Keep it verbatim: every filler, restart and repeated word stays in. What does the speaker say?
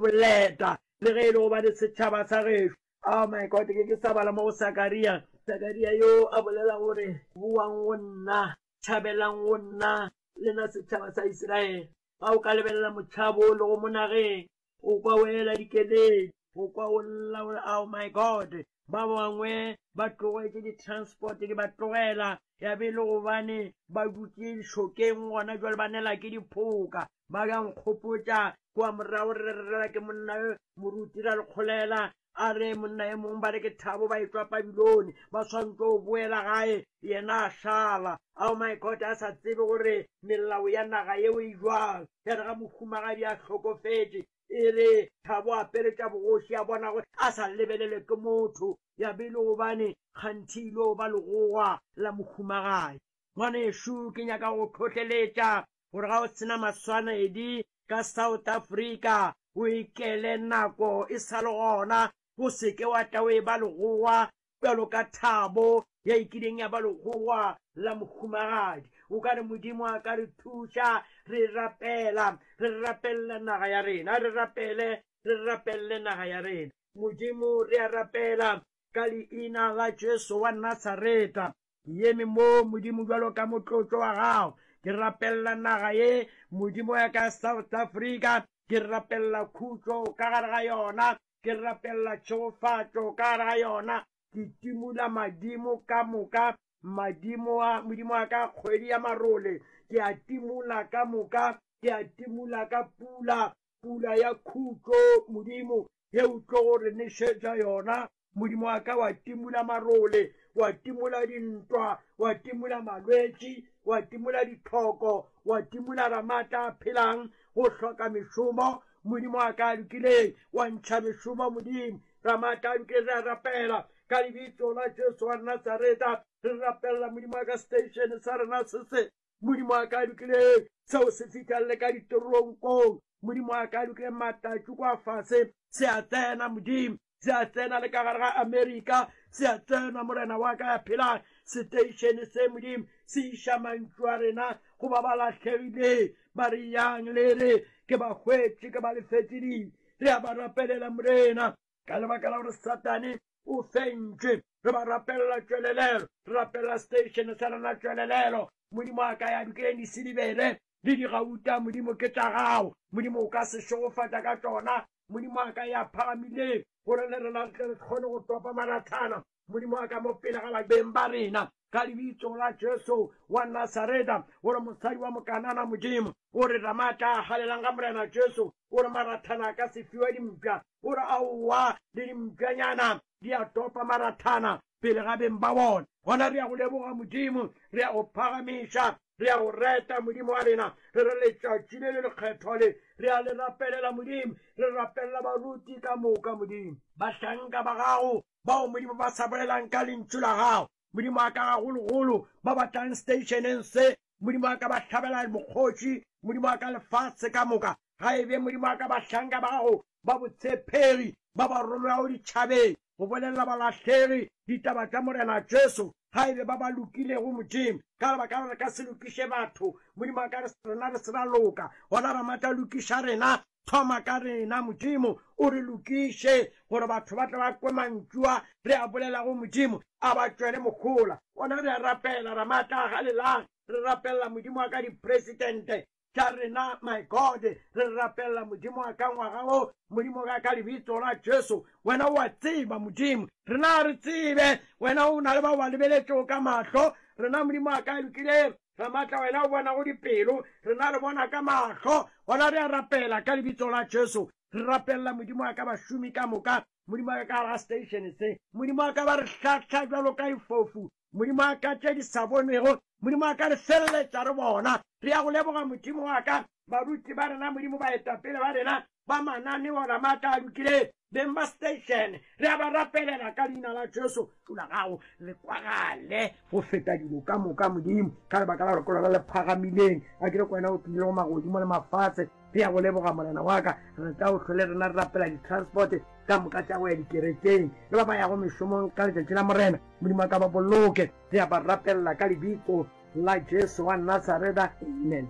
Boleta, le ge e le gobane setšhaba sa gešo. Oh my God, ke ke sa bala mo go Sakaria. Sakaria yo a bolela gore, Boang go nna, tšhabelang go nna, lena setšhaba sa Isiraele. Ga o ka lebelela motšhabo o lego mo nageng, o kwa o ela dikeledi, o kwa o lla o re, Oh my God, ba bangwe ba tlogetše di-transport di ba tlogela, ya be e le gobane ba dutše lešokeng gona jwale ba nela ke diphoka. Ba ya nkgopotša kua morago re re rela ke monna yo moruti ra lekgolela a re monna e mongwe ba re ke Thabo ba etšwa Pabilone ba swantse go boela gae yena a šala. Oh my God, a sa tsebe gore melao ya naga yeo e jwang. Ya re ga mohumagadi a hlokofetše e re Thabo a apere tša bogoši a bona gore a sa lebelele ke motho, ya be e le gobane kganthe ile go ba legogwa la mohumagadi. Ngwanešu, ke nyaka go hlohleletša gore ga o sena maswanedi ka South Africa o ikele nako e sa le gona, o se ke wa tla o e ba legogwa bjalo ka Thabo ya e kileng ya ba legogwa la mohumagadi. O ka re Modimo a ka re thuša, re rapela, re rapelela naga ya rena, re rapele, re rapelele naga ya rena. Modimo, re a rapela ka leina la Jesu wa Nasareta. Ke eme mo, Modimo, bjalo ka motlotlo wa gago. Ke rapelela naga ye, Modimo ya ka South Africa. Ke rapelela khutšo ka gare ga yona. Ke rapelela tšhegofatšo ka gare ga yona. Ke timola madimo ka moka, madimo a Modimo wa ka kgwedi ya marole. Ke a timola ka moka, ke a timola ka pula, pula ya khutšo, Modimo, ye o tlo go re nešetša yona. Modimo wa ka wa timola marole, wa timola dintwa, wa timola malwetši, wa timola ditlhoko, wa timola ramatla a phelang go hloka mešomo. Modimo wa ka a lokileng, wa ntšha mešomo. Modimo ramatla a lokileng, re a rapela ka lebitso la Jesu wa Nasareta. Re rapelela Modimo wa ka station sa rena se se, Modimo wa ka a lokileng, seo se fihlelele ka ditoronkong. Modimo wa ka a lokileng, matatši kwa fase se a tsena, Modimo se a tsena le ka gare ga Amerika, se a tsena, Morena wa ka ya phelang. Seteišene se, Modimo, se iša mantšu a rena go ba ba lahlegileng, ba re yang le re ke ba hwetše, ke ba lefetše dibe. Re a ba rapelela, Morena, ka lebaka la gore Satane o fentšwe. Re ba rapelela tšwelelelo, re rapelela station sa rena tšwelelelo. Modimo a ka ya dukileng disilibere le digauta, Modimo ke tša gago. Modimo o ka se šegofatša ka tšona. Modimo a ka ya phagamileng gore le rena re tle re kgone go topa marathana. Modimo a ka mo pele ga beng ba rena ka lebitso la Jesu wa Nasareta, gore mosadi wa Mokanana, Modimo o re ramatla a galelang ga Morena Jesu, o re marathana a ka se fiwe dimpša, o re aowa le dimpšanyana di a topa marathana pele ga beng ba bona. Gona re ya go leboga Modimo, re ya go phagamiša, re ya go reta Modimo wa rena. Re re letšatši le le lekgethwa le re a le rapelela Modimo, re rapelela baruti ka moka Modimo, bahlanka ba gago bao Modimo ba sa bolelang ka lentšu la gago. Modimo a ka gagologolo ba batlang stationeng se, Modimo a ka ba hlabela mokgoši, Modimo a ka lefase ka moka. Ga e be Modimo a ka bahlanka ba gago ba botshepegi ba ba romelago ditšhabeng go bolelela balahlegi ditaba tša Morena Jesu, ga e be ba ba lokilego Modimo, ka lebaka la re ka se lokiše batho. Modimo a ka re rena re se ra loka, gona ramatla lokiša rena, thoma ka rena Modimo, o re lokiše gore batho ba tle ba kwe mantšu a re a bolelago Modimo, a ba tšwele mohola. Gona re a rapela ramatla a galelang, re rapelela Modimo wa ka dipresidente tša rena, my God, re rapelela Modimo wa ka ngwaga o, Modimo ka ka lebitso la Jesu. Wena o a tseba Modimo, rena re tsebe, wena o na le ba ba lebeletšego ka mahlo. Rena Modimo wa ka lokileng ramatla, wena o bonago dipelo, rena re bona ka mahlo. Gona re a rapela ka lebitso la Jesu, re rapelela Modimo wa ka bašomi ka moka, Modimo wa ka ka gare ga station se. Modimo wa ka ba re hlahla bjalo ka difofu, Modimo wa ka tše di sa bonwego, Modimo wa ka re feleletša re bona. Re ya go leboga Modimo wa ka, baruti ba rena Modimo, baetapele ba rena ba mananeo ramatla a lokileng, beng ba station, re a ba rapelela ka leina la Jesu. La gago le kwagale go feta dilo ka moka Modimo, ka lebaka la gore ke lona le phagamileng. A ke re ko wena o tlile go magodimo le mafatshe. Re ya go leboga Morena wa ka, re tla o hlole rena re rapela di-transport ka moka tša go ya dikerekeng le ba ba yago mešomong ka letšatši la Morena. Modimo a ka ba boloke. Re a ba rapelela ka lebitso la Jesu wa Nasareta, amen.